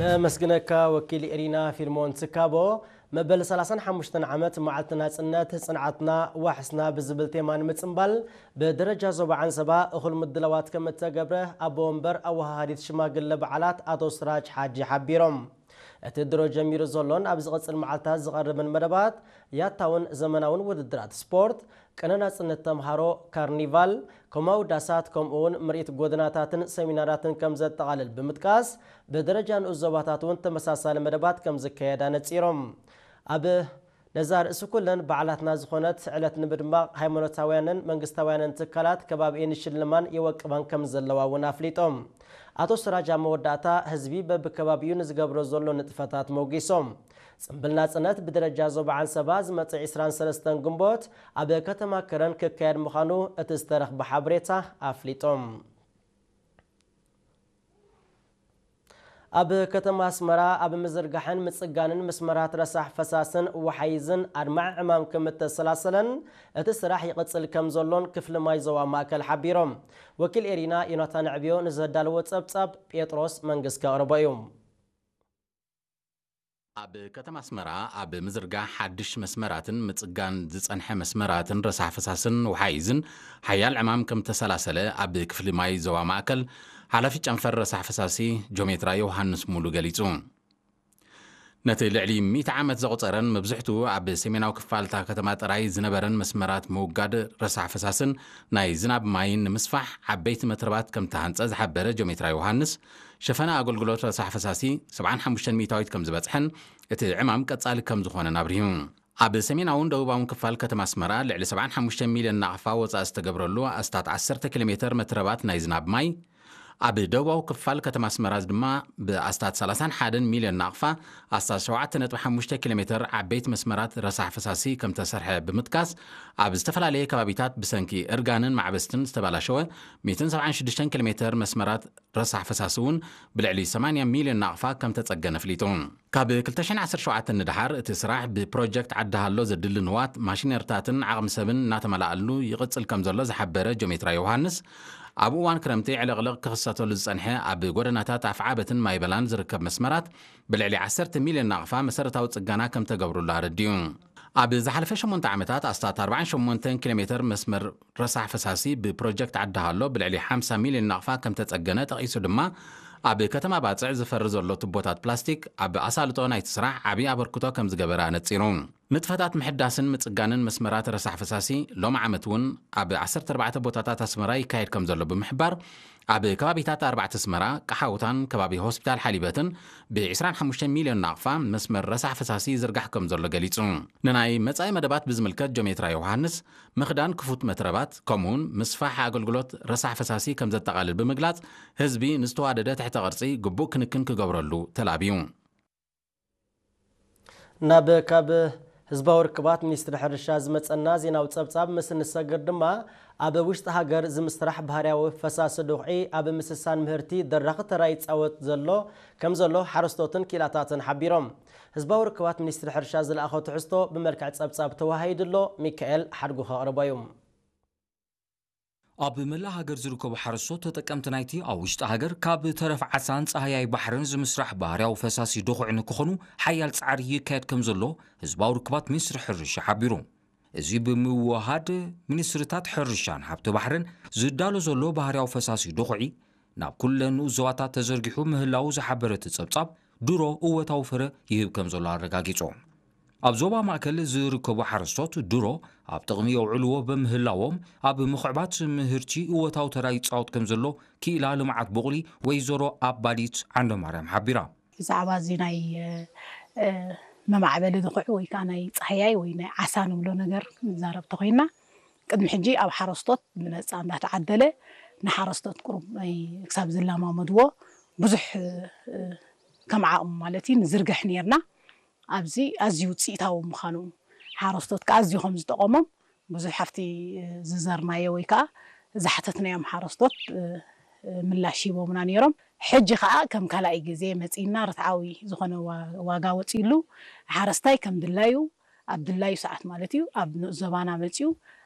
ነመስግነካ ወኪል ኤሪና ፊልሞን ትካቦ። መበል ሰላሳን ሓሙሽተን ዓመት መዓልቲ ናጽነት ጽንዓትና ዋሕስና ብዝብል ቴማ ንምጽንባል ብደረጃ ዞባ ዓንሰባ እኹል ምድላዋት ከም እተገብረ ኣቦ ወንበር ኣወሃሃዲት ሽማግለ በዓላት ኣቶ ስራጅ ሓጂ ሓቢሮም። እቲ ድሮ ጀሚሩ ዘሎን ኣብ ዝቕጽል መዓልታት ዝቐርብን መደባት ያታውን ዘመናውን ውድድራት ስፖርት፣ ቅነ ናጽነት ተምሃሮ፣ ካርኒቫል፣ ኮማዊ ዳሳት ከምኡውን ምርኢት ጎደናታትን ሰሚናራትን ከም ዘጠቓልል ብምጥቃስ ብደረጃ ንኡስ ዞባታት እውን ተመሳሳሊ መደባት ከም ዝካየድ ኣነጺሮም። ኣብ ነዛ ርእሲ ኩለን በዓላትና ዝኾነት ዕለት ንምድማቕ ሃይማኖታውያንን መንግስታውያንን ትካላት ከባቢ ንሽልማን የወቅባን ከም ዘለዋ እውን ኣፍሊጦም። ኣቶ ስራጅ ኣብ መወዳእታ ህዝቢ በብከባቢኡ ንዝገብሮ ዘሎ ንጥፈታት መውጊሶም። ጽምብል ናጽነት ብደረጃ ዞባ ዓንሰባ ዝመጽእ ዕስራን ሰለስተን ግንቦት ኣብ ከተማ ከረን ክካየድ ምዃኑ እቲ ዝተረኽበ ሓበሬታ ኣፍሊጦም። ኣብ ከተማ ኣስመራ ኣብ ምዝርጋሕን ምጽጋንን መስመራት ረሳሕ ፈሳስን ወሓይዝን ኣድማዒ ዕማም ከም እተሰላሰለን እቲ ስራሕ ይቕጽል ከም ዘሎን ክፍሊ ማይ ዞባ ማእከል ሓቢሮም። ወኪል ኤሪና ዮናታን ዕብዮ ንዘዳለዎ ጸብጻብ ጴጥሮስ መንግስ ከቕርቦ እዩ። ኣብ ከተማ ኣስመራ ኣብ ምዝርጋሕ ሓድሽ መስመራትን ምጽጋን ዝጸንሐ መስመራትን ረሳሕ ፈሳስን ወሓይዝን ሓያል ዕማም ከም ተሰላሰለ ኣብ ክፍሊ ማይ ዞባ ማእከል ሓላፊ ጨንፈር ረሳሕ ፈሳሲ ጆሜትራ ዮሃንስ ሙሉ ገሊጹ። ነቲ ልዕሊ ሚእቲ ዓመት ዘቑጸረን መብዝሕትኡ ኣብ ሰሜናዊ ክፋል እታ ከተማ ጥራይ ዝነበረን መስመራት ምውጋድ ረሳሕ ፈሳስን ናይ ዝናብ ማይን ንምስፋሕ ዓበይቲ መትረባት ከም ተሃንጸ ዝሓበረ ጆሜትራ ዮሃንስ፣ ሸፈነ ኣገልግሎት ረሳሕ ፈሳሲ ሰብዓን ሓሙሽተን ሚእታዊት ከም ዝበጽሐን እቲ ዕማም ቀጻሊ ከም ዝኾነን ኣብሪሁ። ኣብ ሰሜናውን ደቡባውን ክፋል ከተማ ኣስመራ ልዕሊ ሰብዓን ሓሙሽተ ሚልዮን ናቕፋ ወጻኢ ዝተገብረሉ ኣስታት ዓሰርተ ኪሎ ሜተር መትረባት ናይ ዝናብ ማይ፣ ኣብ ደቡባዊ ክፋል ከተማ ኣስመራ ድማ ብኣስታት ሰላሳን ሓደን ሚልዮን ናቕፋ ኣስታት ሸውዓተ ነጥቢ ሓሙሽተ ኪሎ ሜተር ዓበይቲ መስመራት ረሳሕ ፈሳሲ ከም ተሰርሐ ብምጥቃስ፣ ኣብ ዝተፈላለየ ከባቢታት ብሰንኪ እርጋንን ማዕበስትን ዝተባላሸወ ሚእትን ሰብዓን ሽዱሽተን ኪሎ ሜተር መስመራት ረሳሕ ፈሳሲ እውን ብልዕሊ ሰማንያ ሚልዮን ናቕፋ ከም ተጸገነ ኣፍሊጡ። ካብ ክልተ ሽሕን ዓሰርተ ሸውዓተን ንደሓር እቲ ስራሕ ብፕሮጀክት ዓዲ ሃሎ ዘድሊ ንዋት፣ ማሽነርታትን ዓቕሚ ሰብን እናተመላኣሉ ይቕጽል ከም ዘሎ ዝሓበረ ጆሜትራ ዮሃንስ፣ ኣብ እዋን ክረምቲ ዕልቕልቕ ክኽሰተሉ ዝጸንሐ ኣብ ጎደናታት ኣፍዓበትን ማይበላን ዝርከብ መስመራት ብልዕሊ ዓሰርተ ሚልዮን ናቕፋ መሰረታዊ ጽገና ከም ተገብሩሉ ኣረዲኡ። ኣብ ዝሓለፈ ሸሞንተ ዓመታት ኣስታት ኣርባዓን ሸሞንተን ኪሎ ሜተር መስመር ረሳሕ ፈሳሲ ብፕሮጀክት ዓዲ ሃሎ ብልዕሊ ሓምሳ ሚልዮን ናቕፋ ከም ተጸገነ ጠቒሱ ድማ፣ ኣብ ከተማ ባጽዕ ዝፈሪ ዘሎ ቱቦታት ፕላስቲክ ኣብ ኣሳልጦ ናይቲ ስራሕ ዓቢ ኣበርክቶ ከም ዝገበረ ኣነጺሩ። ንጥፈታት ምሕዳስን ምጽጋንን መስመራት ረሳሕ ፈሳሲ ሎሚ ዓመት እውን ኣብ ዓሰርተ ኣርባዕተ ቦታታት ኣስመራ ይካየድ ከም ዘሎ ብምሕባር፣ ኣብ ከባቢታት ኣርባዕተ ኣስመራ፣ ቀሓውታን ከባቢ ሆስፒታል ሓሊበትን ብ ዕስራን ሓሙሽተን ሚልዮን ናቕፋ መስመር ረሳሕ ፈሳሲ ይዝርጋሕ ከም ዘሎ ገሊጹ። ንናይ መጻኢ መደባት ብዝምልከት ጆሜትራ ዮሃንስ፣ ምኽዳን ክፉት መትረባት፣ ከምኡውን ምስፋሕ ኣገልግሎት ረሳሕ ፈሳሲ ከም ዘጠቓልል ብምግላጽ፣ ህዝቢ ንዝተዋደደ ትሕተ ቅርጺ ግቡእ ክንክን ክገብረሉ ተላብዩ። ናብ ካብ ህዝባዊ ርክባት ሚኒስትሪ ሕርሻ ዝመጸና ዜናዊ ጸብጻብ ምስ እንሰግር ድማ፣ ኣብ ውሽጢ ሃገር ዝምስራሕ ባህርያዊ ፈሳሲ ድኹዒ ኣብ ምስሳን ምህርቲ ደራኺ ተራ ይጻወት ዘሎ ከም ዘሎ ሓረስቶትን ክኢላታትን ሓቢሮም። ህዝባዊ ርክባት ሚኒስትሪ ሕርሻ ዝለኣኾ ትሕዝቶ ብመልክዕ ጸብጻብ ተወሃሂዱ ኣሎ። ሚካኤል ሓድጉ ከቕርቦ እዩ። ኣብ መላእ ሃገር ዝርከቡ ሓረስቶት ተጠቀምቲ ናይቲ ኣብ ውሽጢ ሃገር ካብ ተረፍ ዓሳን ጻህያይ ባሕርን ዝምስራሕ ባህርያዊ ፈሳሲ ድኹዒ ንክኾኑ ሓያል ጻዕሪ ይካየድ ከም ዘሎ ህዝባዊ ርክባት ሚኒስትሪ ሕርሻ ሓቢሩ። እዚ ብምውሃድ ሚኒስትሪታት ሕርሻን ሃብቲ ባሕርን ዝዳሎ ዘሎ ባህርያዊ ፈሳሲ ድኹዒ ናብ ኩለን ንኡስ ዞባታት ተዘርጊሑ ምህላዉ ዝሓበረ እቲ ጸብጻብ ድሮ እወታዊ ፍረ ይህብ ከም ዘሎ ኣረጋጊጹ። ኣብ ዞባ ማእከል ዝርከቡ ሓረስቶት ድሮ ኣብ ጥቕሚ የውዕልዎ በምህላዎም፣ ኣብ ምኽዕባት ምህርቲ እወታዊ ተራ ይጻወት ከም ዘሎ ክኢላ ልምዓት ቡቕሊ ወይዘሮ ኣባዲት ዓንደማርያም ሓቢራ። ብዛዕባ እዚ ናይ፣ እ፣ መማዕበሊ ድኹዒ ወይ ከዓ ናይ ጻህያይ ወይ ናይ ዓሳ ንብሎ ነገር ንዛረብ ተኾይንና፣ ቅድሚ ሕጂ ኣብ ሓረስቶት ብነጻ እንዳተዓደለ ንሓረስቶት ቁሩብ ናይ ክሳብ ዝለማመድዎ ብዙሕ፣ እ፣ ከም ዓቕሙ ማለት እዩ ንዝርግሕ ነይርና። ኣብዚ ኣዝዩ ውጽኢታዊ ምዃኑ፣ ሓረስቶት ከኣ ኣዝዩ ከም ዝጠቐሞም ብዙሕ ኣብቲ ዝዘርናዮ ወይ ከኣ ዝሓተትናዮም ሓረስቶት ምላሽ ሂቦምና ነይሮም። ሕጂ ከኣ ከም ካልኣይ ግዜ መጺእና ርትዓዊ ዝኾነ ዋ-፣ ዋጋ ወጺእሉ፣ ሓረስታይ ከም ድላዩ ኣብ ድላዩ ሰዓት ማለት እዩ ኣብ ንኡስ ዞባና መጺኡ፣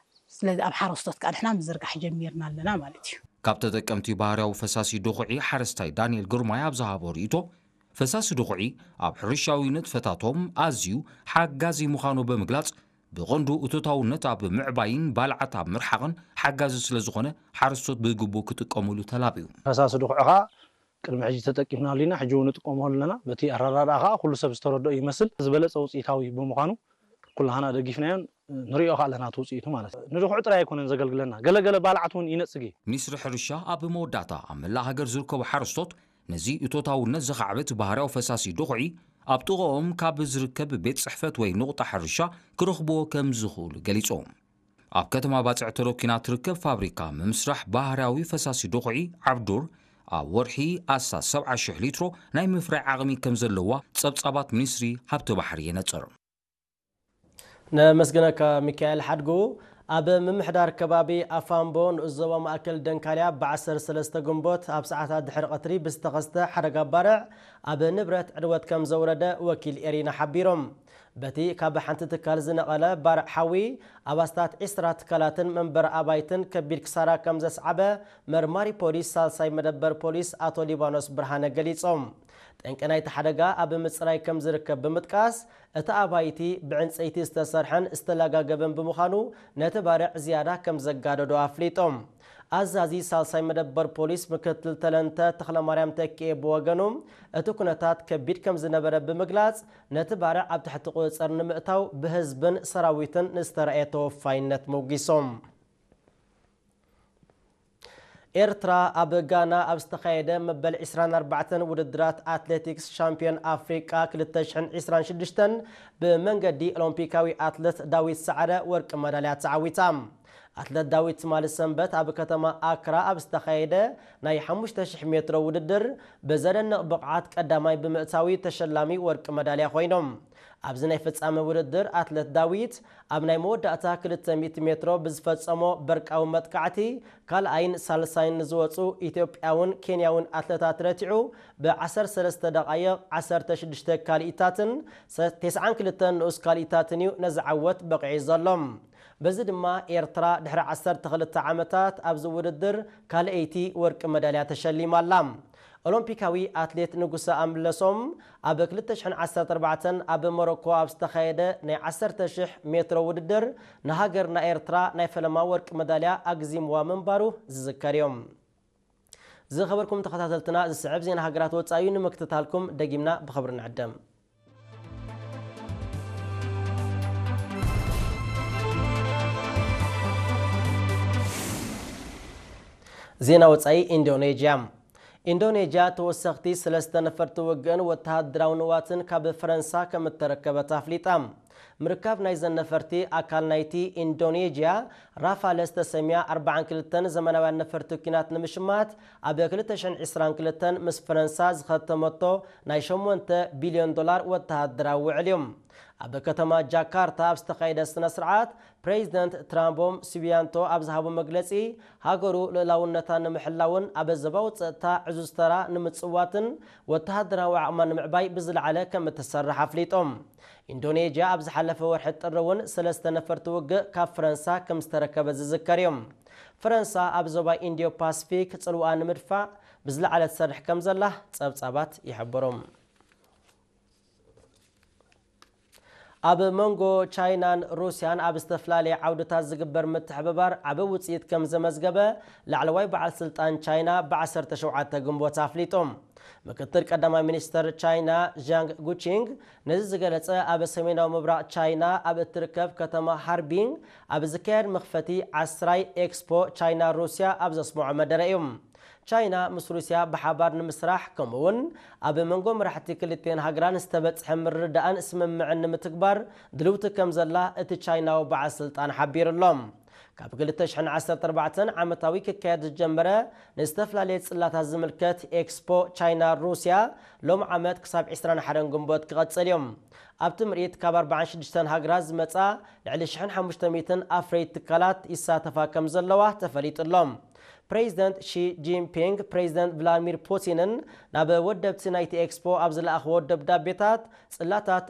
ስለዚ ኣብ ሓረስቶት ከኣ ንሕና ምዝርጋሕ ጀሚርና ኣለና ማለት እዩ። ካብ ተጠቀምቲ ባህርያዊ ፈሳሲ ድኹዒ ሓረስታይ ዳንኤል ግርማይ ኣብ ዝሃቦ ርእይቶ፣ ፈሳሲ ድኹዒ ኣብ ሕርሻዊ ንጥፈታቶም ኣዝዩ ሓጋዚ ምዃኑ ብምግላጽ፣ ብቐንዱ እቶታውነት ኣብ ምዕባይን ባልዓት ኣብ ምርሓቕን ሓጋዚ ስለ ዝኾነ፣ ሓረስቶት ብግቡእ ክጥቀሙሉ ተላብዩ። ፈሳሲ ድኹዒ ኸኣ ቅድሚ ሕጂ ተጠቂምናሉ ኢና፣ ሕጂ እውን ንጥቀመሉ ኣለና። በቲ ኣረዳድኣ ኸኣ ኩሉ ሰብ ዝተረድኦ ይመስል። ዝበለጸ ውጽኢታዊ ብምዃኑ ኩላህና ደጊፍናዮን ንሪኦ ኸኣ ኣለና እቲ ውጽኢቱ ማለት እዩ። ንድኹዒ ጥራይ ኣይኮነን ዘገልግለና፣ ገለገለ ባልዓት እውን ይነጽግ እዩ። ሚኒስትሪ ሕርሻ ኣብ መወዳእታ፣ ኣብ መላእ ሃገር ዝርከቡ ሓረስቶት ነዚ እቶታውነት ዘኻዕብት ባህርያዊ ፈሳሲ ድኹዒ ኣብ ጥቕኦም ካብ ዝርከብ ቤት ጽሕፈት ወይ ንቑጣ ሕርሻ ክረኽብዎ ከም ዝኽእሉ ገሊጾም። ኣብ ከተማ ባጽዕ ተረኪና ትርከብ ፋብሪካ ምምስራሕ ባህርያዊ ፈሳሲ ድኹዒ ዓብዱር ኣብ ወርሒ ኣስታት ሰብዓ ሽሕ ሊትሮ ናይ ምፍራይ ዓቕሚ ከም ዘለዋ ጸብጻባት ሚኒስትሪ ሃብቲ ባሕሪ የነጽር። ነመስግነካ ሚካኤል ሓድጉ። ኣብ ምምሕዳር ከባቢ ኣፋምቦ ንኡስ ዞባ ማእከል ደንካልያ ብዓሰርተ ሰለስተ ግንቦት ኣብ ሰዓታት ድሕሪ ቀትሪ ብዝተኸስተ ሓደጋ ባርዕ ኣብ ንብረት ዕንወት ከም ዘውረደ ወኪል ኤሪና ሓቢሮም። በቲ ካብ ሓንቲ ትካል ዝነቐለ ባርዕ ሓዊ ኣብ ኣስታት ዒስራ ትካላትን መንበሪ ኣባይትን ከቢድ ክሳራ ከም ዘስዓበ መርማሪ ፖሊስ ሳልሳይ መደበር ፖሊስ ኣቶ ሊባኖስ ብርሃነ ገሊጾም። ጠንቂ ናይቲ ሓደጋ ኣብ ምጽራይ ከም ዝርከብ ብምጥቃስ፣ እቲ ኣባይቲ ብዕንጸይቲ ዝተሰርሐን ዝተለጋገበን ብምዃኑ፣ ነቲ ባርዕ ዝያዳ ከም ዘጋደዶ ኣፍሊጦም። ኣዛዚ ሳልሳይ መደበር ፖሊስ ምክትል ተለንተ ተኽለማርያም ተኪኤ ብወገኑ፣ እቲ ኩነታት ከቢድ ከም ዝነበረ ብምግላጽ፣ ነቲ ባርዕ ኣብ ትሕቲ ቁጽጽር ንምእታው ብህዝብን ሰራዊትን ንዝተራእየ ተወፋይነት መጒሶም። ኤርትራ ኣብ ጋና ኣብ ዝተኻየደ መበል ዕስራን ኣርባዕተን ውድድራት ኣትሌቲክስ ሻምፒዮን ኣፍሪቃ ክልተ ሽሕን ዕስራን ሽዱሽተን ብመንገዲ ኦሎምፒካዊ ኣትለት ዳዊት ሰዓረ ወርቂ መዳልያ ተዓዊታ። ኣትለት ዳዊት ትማሊ ሰንበት ኣብ ከተማ ኣክራ ኣብ ዝተኻየደ ናይ ሓሙሽተ ሽሕ ሜትሮ ውድድር ብዘደንቕ ብቕዓት ቀዳማይ ብምእታዊ ተሸላሚ ወርቂ መዳልያ ኮይኖም። ኣብዚ ናይ ፍጻመ ውድድር ኣትለት ዳዊት ኣብ ናይ መወዳእታ ክልተ ሚእቲ ሜትሮ ብዝፈጸሞ በርቃዊ መጥቃዕቲ ካልኣይን ሳልሳይን ንዝወጹ ኢትዮጵያውን ኬንያውን ኣትለታት ረቲዑ ብዓሰርተ ሰለስተ ደቓይቕ ዓሰርተ ሽዱሽተ ካልኢታትን ሰ-፣ ተስዓን ክልተን ንኡስ ካልኢታትን እዩ ነዚ ዓወት በቒዑ ዘሎ። በዚ ድማ ኤርትራ ድሕሪ ዓሰርተ ክልተ ዓመታት ኣብዚ ውድድር ካልኣይቲ ወርቂ መዳልያ ተሸሊማ ኣላ። ኦሎምፒካዊ ኣትሌት ንጉሰ ኣምለሶም ኣብ ክልተ ሽሕን ዓሰርተ ኣርባዕተን ኣብ ሞሮኮ ኣብ ዝተኻየደ ናይ ዓሰርተ ሽሕ ሜትሮ ውድድር ንሃገርና ኤርትራ ናይ ፈለማ ወርቂ መዳልያ ኣግዚምዋ ምንባሩ ዝዝከር እዩ። ዝኸበርኩም ተኸታተልትና፣ ዝስዕብ ዜና ሃገራት ወጻኢ እዩ። ንምክትታልኩም ደጊምና ብኽብሪ ንዕደም። ዜና ወጻኢ። ኢንዶኔዥያ። ኢንዶኔዥያ ተወሰኽቲ ሰለስተ ነፈርቲ ውግእን ወተሃደራዊ ንዋትን ካብ ፈረንሳ ከም እተረከበት ኣፍሊጣ። ምርካብ ናይዘን ነፈርቲ ኣካል ናይቲ ኢንዶኔዥያ ራፋለ ዝተሰምያ ኣርባዓን ክልተን ዘመናውያን ነፈርቲ ኲናት ንምሽማት ኣብ ክልተ ሽሕን ዕስራን ክልተን ምስ ፈረንሳ ዝኸተመቶ ናይ ሸሞንተ ቢልዮን ዶላር ወተሃደራዊ ውዕል እዩ። ኣብ ከተማ ጃካርታ ኣብ ዝተኻየደ ስነ ስርዓት፣ ፕሬዚደንት ትራምቦም ስቢያንቶ ኣብ ዝሃቦ መግለጺ፣ ሃገሩ ልእላውነታ ንምሕላውን ኣብ ዞባዊ ጸጥታ ዕዙዝ ተራ ንምጽዋትን ወተሃደራዊ ዓቕማ ንምዕባይ ብዝለዓለ ከም እትሰርሕ ኣፍሊጦም። ኢንዶኔዥያ ኣብ ዝሓለፈ ወርሒ ጥሪ እውን ሰለስተ ነፈርቲ ውግእ ካብ ፈረንሳ ከም ዝተረከበ ዝዝከር እዩ። ፈረንሳ ኣብ ዞባ ኢንዲዮ ፓስፊክ ጽልዋ ንምድፋዕ ብዝለዓለ ትሰርሕ ከም ዘላ ጸብጻባት ይሕብሩ። ኣብ መንጎ ቻይናን ሩስያን ኣብ ዝተፈላለየ ዓውድታት ዝግበር ምትሕብባር ዓቢ ውጽኢት ከም ዘመዝገበ ላዕለዋይ በዓል ስልጣን ቻይና ብ ዓሰርተ ሸውዓተ ግንቦት ኣፍሊጡ። ምክትል ቀዳማይ ሚኒስተር ቻይና ዣንግ ጉቺንግ ነዚ ዝገለጸ ኣብ ሰሜናዊ ምብራቕ ቻይና ኣብ እትርከብ ከተማ ሃርቢን ኣብ ዝካየድ መኽፈቲ ዓስራይ ኤክስፖ ቻይና ሩስያ ኣብ ዘስምዖ መደረ እዩ። ቻይና ምስ ሩስያ ብሓባር ንምስራሕ ከምኡውን ኣብ መንጎ መራሕቲ ክልቲኤን ሃገራን ዝተበጽሐ ምርድዳእን ስምምዕን ንምትግባር ድልውቲ ከም ዘላ እቲ ቻይናዊ በዓል ስልጣን ሓቢሩ ኣሎ። ካብ ክልተ ሽሕን ዓሰርተ ኣርባዕተን ዓመታዊ ክካየድ ዝጀመረ ንዝተፈላለየ ጽላታት ዝምልከት ኤክስፖ ቻይና ሩስያ ሎም ዓመት ክሳብ ዕስራን ሓደን ግንቦት ክቐጽል እዩ። ኣብቲ ምርኢት ካብ ኣርባዓን ሽዱሽተን ሃገራት ዝመጻ ልዕሊ ሽሕን ሓሙሽተ ሚእትን ኣፍረይቲ ትካላት ይሳተፋ ከም ዘለዋ ተፈሊጡ ኣሎ። ፕሬዚደንት ሺ ጂንፒንግ ፕሬዚደንት ቭላድሚር ፑቲንን ናብ ወደብቲ ናይቲ ኤክስፖ ኣብ ዝለኣኽዎ ደብዳቤታት፣ ጽላታት